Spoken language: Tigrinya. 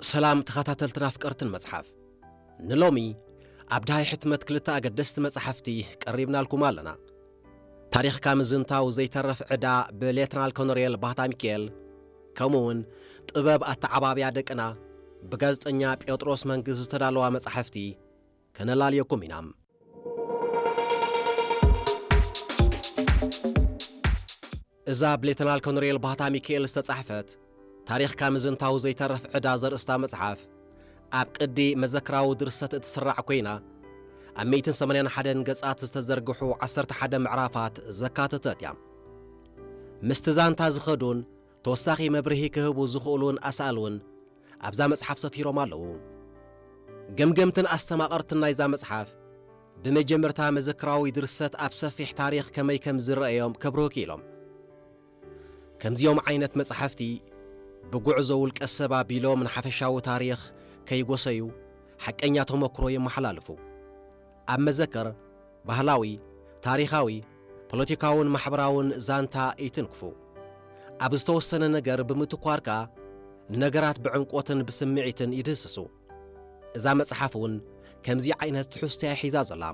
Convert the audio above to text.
ሰላም ተኸታተልትን ኣፍቀርትን መጽሓፍ። ንሎሚ ኣብ ዳሃይ ሕትመት ክልተ ኣገደስቲ መጽሓፍቲ ቀሪብናልኩም ኣለና። ታሪኽካ ምዝንታው ዘይተርፍ ዕዳ ብሌተናል ኮሎኔል ባህታ ሚካኤል፣ ከምኡውን ጥበብ ኣተዓባብያ ደቅና ብጋዜጠኛ ጴጥሮስ መንግስቲ ዝተዳለዋ መጽሓፍቲ ከነላልየኩም ኢና። እዛ ብሌተናል ኮሎኔል ባህታ ሚካኤል ዝተጻሕፈት ታሪኽካ ምዝንታው ዘይተርፍ ዕዳ ዘርእስታ መጽሓፍ፣ ኣብ ቅዲ መዘክራዊ ድርሰት እትስራዕ ኮይና፣ ኣብ ሚእትን ሰማንያን ሓደን ገጻት ዝተዘርግሑ ዓሰርተ ሓደ ምዕራፋት ዘካተተት እያ። ምስቲ ዛንታ ዝኸዱን ተወሳኺ መብርሂ ክህቡ ዝኽእሉን ኣሳእል እውን ኣብዛ መጽሓፍ ሰፊሮም ኣለዉ። ገምገምትን ኣስተማቐርትን ናይዛ መጽሓፍ፣ ብመጀመርታ መዘክራዊ ድርሰት ኣብ ሰፊሕ ታሪኽ ከመይ ከም ዝረኣዮም ከብርሁ ክኢሎም። ከምዚኦም ዓይነት መጽሓፍቲ፣ ብጉዕዞ ውልቀ ሰብ ኣቢሎም ንሓፈሻዊ ታሪኽ ከይጎሰዩ፣ ሓቀኛ ተመክሮ የመሓላልፉ። ኣብ መዘክር፣ ባህላዊ፣ ታሪኻዊ፣ ፖለቲካውን ማሕበራውን ዛንታ ይትንክፉ። ኣብ ዝተወሰነ ነገር ብምትኳር ከኣ፣ ንነገራት ብዕምቆትን ብስምዒትን ይድህስሱ። እዛ መጽሓፍ እውን ከምዚ ዓይነት ትሕዝቶ እያ ሒዛ ዘላ።